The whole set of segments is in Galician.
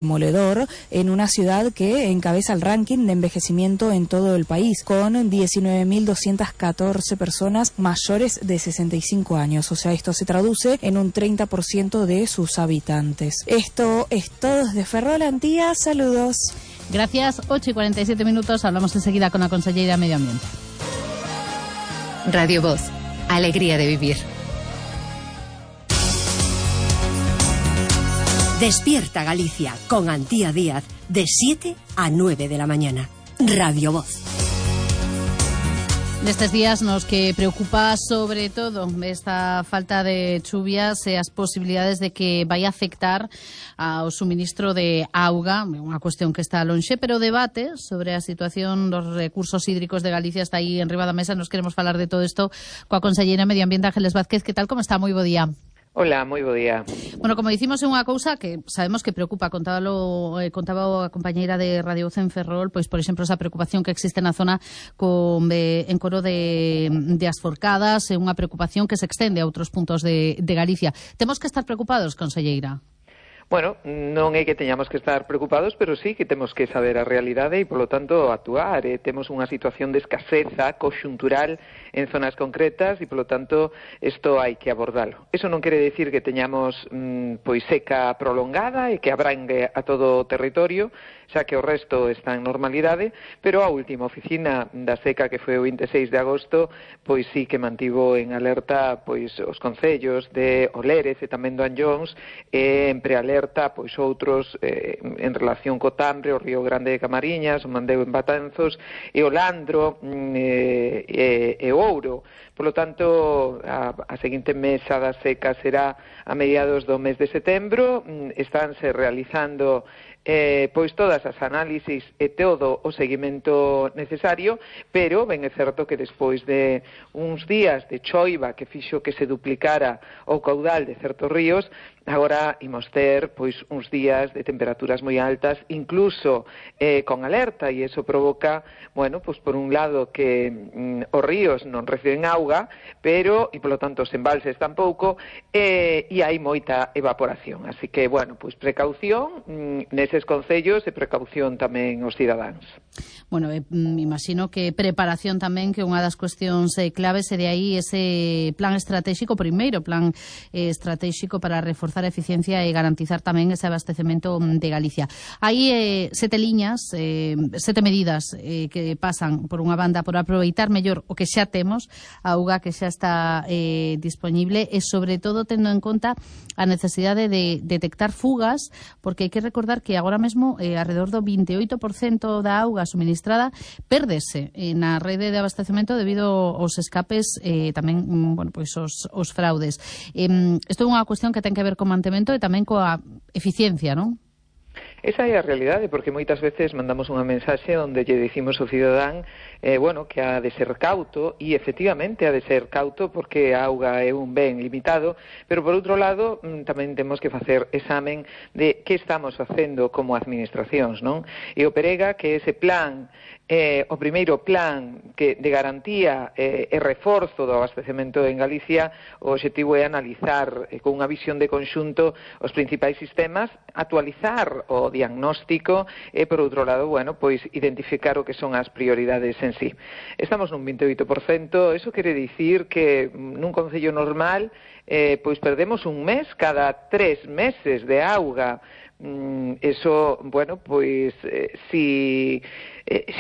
Demoledor en una ciudad que encabeza el ranking de envejecimiento en todo el país, con 19.214 personas mayores de 65 años. O sea, esto se traduce en un 30% de sus habitantes. Esto es todo desde Ferrol, Antía. Saludos. Gracias. 8:47. Hablamos enseguida con la consellera de Medio Ambiente. Radio Voz. Alegría de vivir. Despierta Galicia con Antía Díaz de 7 a 9 de la mañana. Radio Voz. Nestes días nos que preocupa sobre todo esta falta de chuvias e as posibilidades de que vai afectar ao suministro de auga, unha cuestión que está lonxe, pero o debate sobre a situación dos recursos hídricos de Galicia está aí enriba da mesa. Nos queremos falar de todo isto coa conselleira de Medio Ambiente, Ángeles Vázquez. Que tal, como está? Moi bo día. Hola, moi bo día. Bueno, como dicimos, é unha cousa que sabemos que preocupa. Contaba a compañeira de Radio Voz en Ferrol, pois, por exemplo, esa preocupación que existe na zona en Coro de As Forcadas, é unha preocupación que se extende a outros puntos de Galicia. Temos que estar preocupados, conselleira? Bueno, non é que teñamos que estar preocupados, pero sí que temos que saber a realidade e, polo tanto, actuar. Temos unha situación de escaseza conxuntural en zonas concretas e, polo tanto, isto hai que abordalo. Eso non quere decir que teñamos pois seca prolongada e que abrangue a todo o territorio, xa que o resto está en normalidade, pero a última oficina da seca, que foi o 26 de agosto, pois sí que mantivo en alerta pois os concellos de Olérez e tamén do Anllóns, en prealerta pois outros en relación co Tambre, o Río Grande de Camariñas, o Mandeo en Batanzos e o Landro e o Ouro. Por lo tanto, a seguinte mesa da seca será a mediados do mes de setembro. Estánse realizando pois todas as análisis e todo o seguimento necesario, pero ben é certo que despois de uns días de choiva que fixo que se duplicara o caudal de certos ríos, agora imos ter pois uns días de temperaturas moi altas, incluso con alerta, e iso provoca, bueno, pois por un lado que os ríos non reciben auga, pero, e polo tanto os embalses tampouco, e hai moita evaporación. Así que, bueno, pois precaución neses concellos e precaución tamén os cidadáns. Bueno, me imagino que preparación tamén, que unha das cuestións claves, e de aí ese plan estratégico, primeiro plan estratégico para reforzar a eficiencia e garantizar tamén ese abastecemento de Galicia. Hai 7 liñas, 7 medidas que pasan, por unha banda, por aproveitar mellor o que xa temos, a auga que xa está disponible, e sobre todo tendo en conta a necesidade de detectar fugas, porque hai que recordar que agora mesmo alrededor do 28% da auga suministrada pérdese na rede de abastecemento debido aos escapes e tamén, bueno, pois os fraudes. Isto é unha cuestión que ten que ver co mantemento e tamén coa eficiencia, non? Esa é a realidade, porque moitas veces mandamos unha mensaxe onde lle dicimos ao cidadán bueno, que ha de ser cauto, e efectivamente ha de ser cauto porque a auga é un ben limitado, pero por outro lado tamén temos que facer examen de que estamos facendo como administracións, non? E o Perega, que ese plan, o primeiro plan de garantía e reforzo do abastecemento en Galicia, o objetivo é analizar con unha visión de conxunto os principais sistemas, actualizar o diagnóstico e, por outro lado, bueno, pois identificar o que son as prioridades en sí. Estamos nun 28%, eso quere dicir que nun concello normal pois perdemos un mes cada 3 meses de auga. Eso, bueno, pois si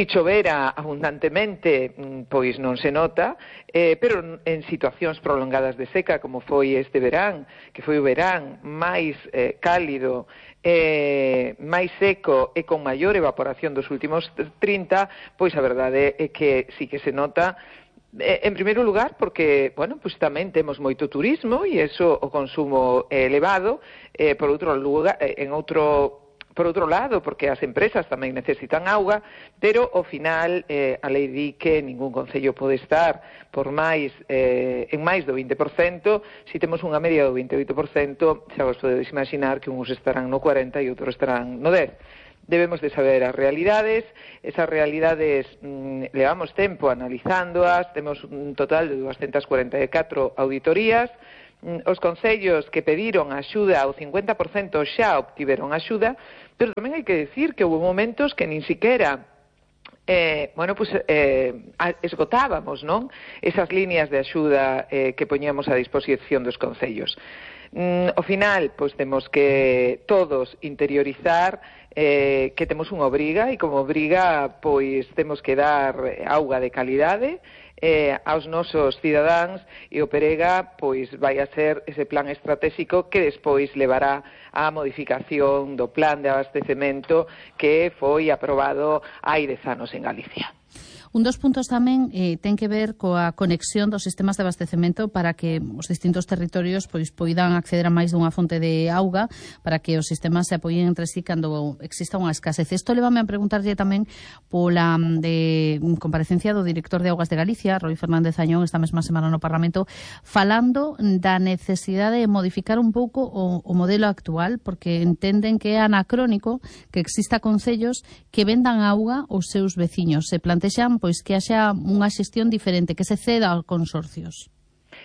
chovera abundantemente, pois non se nota, pero en situacións prolongadas de seca, como foi este verán, que foi o verán máis cálido, máis seco e con maior evaporación dos últimos 30, pois a verdade é que sí que se nota. En primeiro lugar, porque, bueno, pues tamén temos moito turismo e eso o consumo é elevado, por outro lado, porque as empresas tamén necesitan auga, pero ao final a lei di que ningún concello pode estar por máis en máis do 20%. Se temos unha media do 28%, xa vos podedes imaginar que uns estarán no 40% e outros estarán no 10%. Debemos de saber as realidades. Esas realidades levamos tempo analizándoas, temos un total de 244 auditorías, Os concellos que pediron axuda, o 50% xa obtiveron axuda, Pero tamén hai que decir que houve momentos que nin siquiera esgotábamos, non? Esas líneas de axuda que poñíamos a disposición dos concellos. Ao final, pois temos que todos interiorizar que temos unha obriga, e como obriga, pois temos que dar auga de calidade aos nosos cidadáns, e o Perega pois vai a ser ese plan estratégico que despois levará á modificación do plan de abastecemento que foi aprobado hai 10 anos en Galicia. Un dos puntos tamén ten que ver coa conexión dos sistemas de abastecemento para que os distintos territorios pois poidan acceder a máis dunha fonte de auga, para que os sistemas se apoien entre sí cando exista unha escasez. Isto levame a preguntarlle tamén pola comparecencia do director de Augas de Galicia, Roi Fernández Añón, esta mesma semana no Parlamento, falando da necesidade de modificar un pouco o modelo actual, porque entenden que é anacrónico que exista concellos que vendan auga aos seus veciños. Se plantexan pois que haxa unha xestión diferente, que se ceda aos consorcios.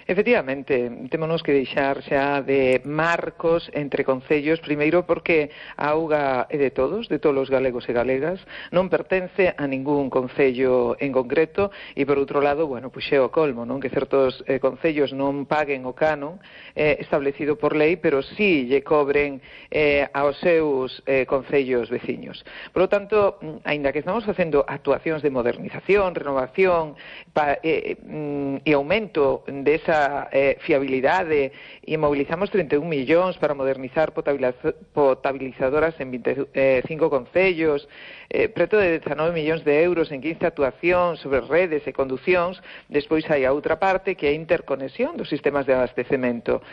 Efectivamente, témonos que deixar xa de marcos entre concellos, primeiro porque a auga é de todos os galegos e galegas, non pertence a ningún concello en concreto, e por outro lado, pois é o colmo, non? Que certos concellos non paguen o canon establecido por lei, pero sí lle cobren aos seus concellos veciños. Por lo tanto, aínda que estamos facendo actuacións de modernización, renovación e aumento desa fiabilidade, e mobilizamos 31 millóns para modernizar potabilizadoras en 25 concellos, preto de 19 millóns de euros en 15 actuacións sobre redes e conducións. Despois hai a outra parte, que é a interconexión dos sistemas de abastecemento.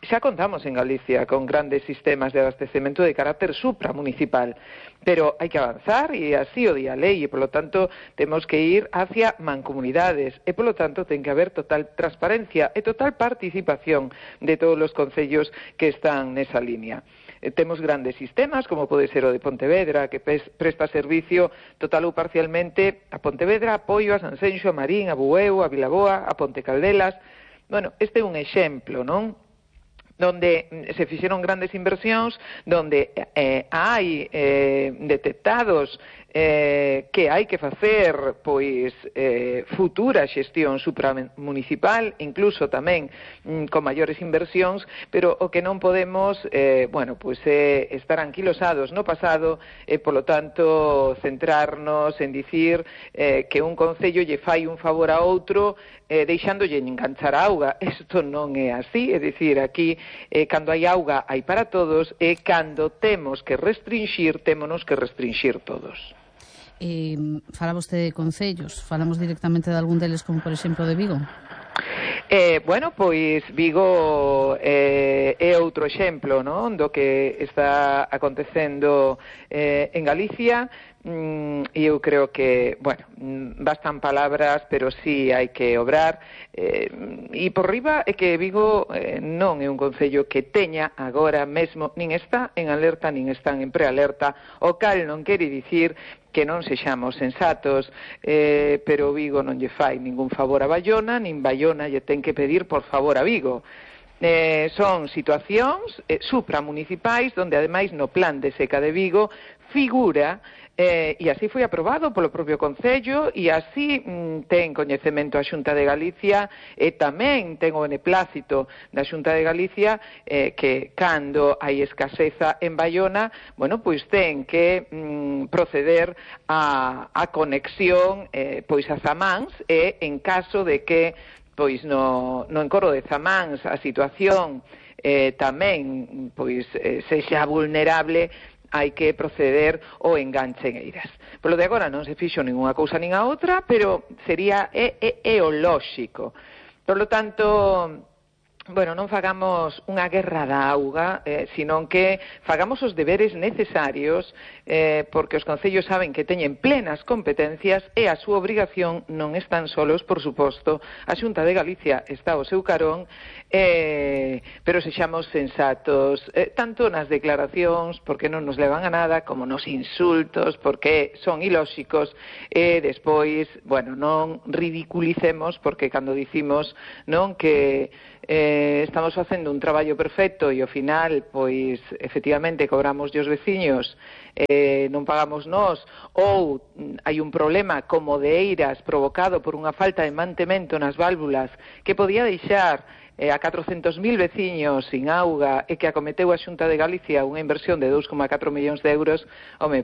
Xa contamos en Galicia con grandes sistemas de abastecemento de carácter supramunicipal, pero hai que avanzar, e así o di a lei, e polo tanto temos que ir hacia mancomunidades, e polo tanto ten que haber total transparencia e total participación de todos os concellos que están nesa línea. Temos grandes sistemas, como pode ser o de Pontevedra, que presta servicio total ou parcialmente a Pontevedra, a Poio, a Sanxenxo, a Marín, a Bueu, a Vilaboa, a Ponte Caldelas. Este é un exemplo, non?, donde se fixeron grandes inversións, donde hai detectados que hai que facer futura xestión supramunicipal, incluso tamén con maiores inversións, pero o que non podemos estar anquilosados no pasado e, polo tanto, centrarnos en dicir que un concello lle fai un favor a outro deixándolle enganchar a auga. Isto non é así, é dicir, aquí cando hai auga hai para todos, e cando temos que restringir, témonos que restringir todos. Fala vostede de concellos, falamos directamente de algún deles, como por exemplo de Vigo? Pois Vigo é outro exemplo, non?, do que está acontecendo en Galicia. E eu creo que, bastan palabras, pero sí hai que obrar, e por riba é que Vigo non é un concello que teña agora mesmo, nin está en alerta, nin están en prealerta, o cal non quere dicir que non sexamos sensatos, pero Vigo non lle fai ningún favor a Baiona, nin Baiona lle ten que pedir por favor a Vigo. Son situacións supramunicipais, donde ademais no plan de seca de Vigo figura, e así foi aprobado polo propio Concello, e así ten coñecemento a Xunta de Galicia, e tamén ten o beneplácito da Xunta de Galicia, que cando hai escaseza en Baiona, pois ten que proceder a conexión a Zamáns, e en caso de que no encoro de Zamáns a situación tamén sexa vulnerable, hai que proceder ao enganche en Eiras. Polo de agora non se fixo ninguna cousa nin a outra, pero sería o lóxico. Por lo tanto, non fagamos unha guerra da auga, senón que fagamos os deberes necesarios, porque os concellos saben que teñen plenas competencias, e a súa obrigación non están solos, por suposto. A Xunta de Galicia está ao seu carón, pero sexamos sensatos, tanto nas declaracións, porque non nos levan a nada, como nos insultos, porque son ilóxicos, e despois, non ridiculicemos, porque cando dicimos que estamos facendo un traballo perfecto e ao final, pois, efectivamente, cobramos os veciños, non pagamos nós, ou hai un problema como de eiras provocado por unha falta de mantemento nas válvulas que podía deixar a 400.000 veciños sin auga e que acometeu a Xunta de Galicia unha inversión de 2,4 millóns de euros,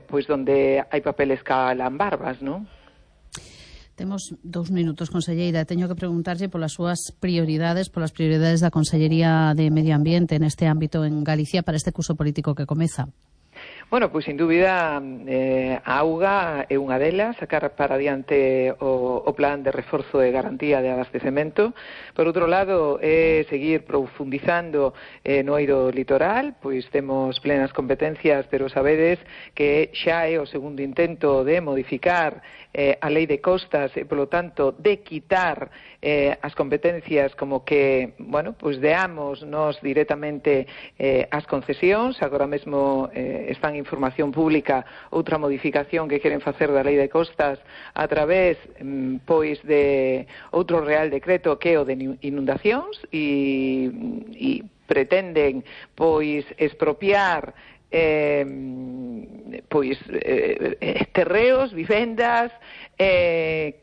pois donde hai papeles que alan barbas, non? Temos 2 minutos, conselleira. Teño que preguntarlle polas súas prioridades, polas prioridades da Consellería de Medio Ambiente neste ámbito en Galicia para este curso político que comeza. Bueno, pois sin dúbida a auga é unha delas, sacar para adiante o plan de reforzo e garantía de abastecemento. Por outro lado, é seguir profundizando no eido litoral, pois temos plenas competencias, pero sabedes que xa é o segundo intento de modificar a lei de costas e, polo tanto, de quitar as competencias como que, bueno, pois deamos nos directamente as concesións. Agora mesmo están en información pública outra modificación que queren facer da lei de costas a través, pois, de outro real decreto que é o de inundacións e pretenden, pois, expropiar terreos, vivendas,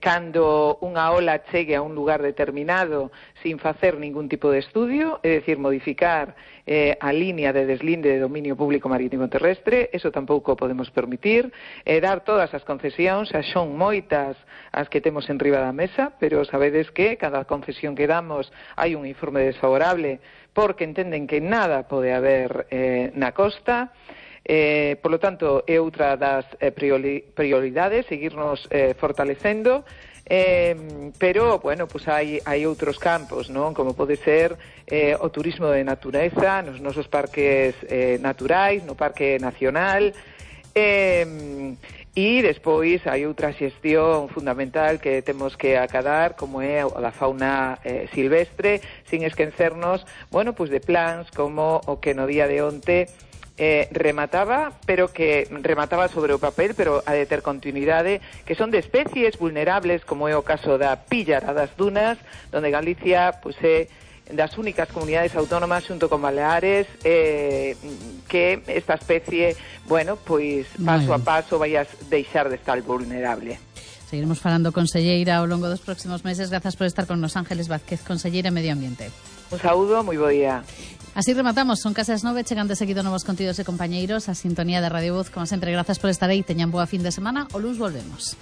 cando unha ola chegue a un lugar determinado sin facer ningún tipo de estudio, é dicir, modificar a línea de deslinde de dominio público marítimo terrestre. Eso tampouco podemos permitir. Dar todas as concesións, xa son moitas as que temos en riba da mesa, pero sabedes que cada concesión que damos hai un informe desfavorable porque entenden que nada pode haber na costa. Por lo tanto, é outra das prioridades, seguirnos fortalecendo, pero, bueno, pues hai outros campos, non? Como pode ser o turismo de natureza nos nosos parques naturais, no Parque Nacional, e despois hai outra xestión fundamental que temos que acadar, como é a da fauna silvestre, sin esquecernos, bueno, pues de plans como o que no día de onte remataba sobre o papel, pero ha de ter continuidade, que son de especies vulnerables, como é o caso da píllara das dunas, donde Galicia, pues, é das únicas comunidades autónomas xunto con Baleares que esta especie, bueno, pois paso a paso vai a deixar de estar vulnerable. Seguiremos falando, conselleira, ao longo dos próximos meses. Grazas por estar con nos. Ángeles Vázquez, conselleira de Medio Ambiente. Un saúdo, moi bo día. Así rematamos, son case as 9, chegando seguido novos contidos e compañeiros, a sintonía de Radio Voz. Como sempre, grazas por estar aí, teñan boa fin de semana, o luns volvemos.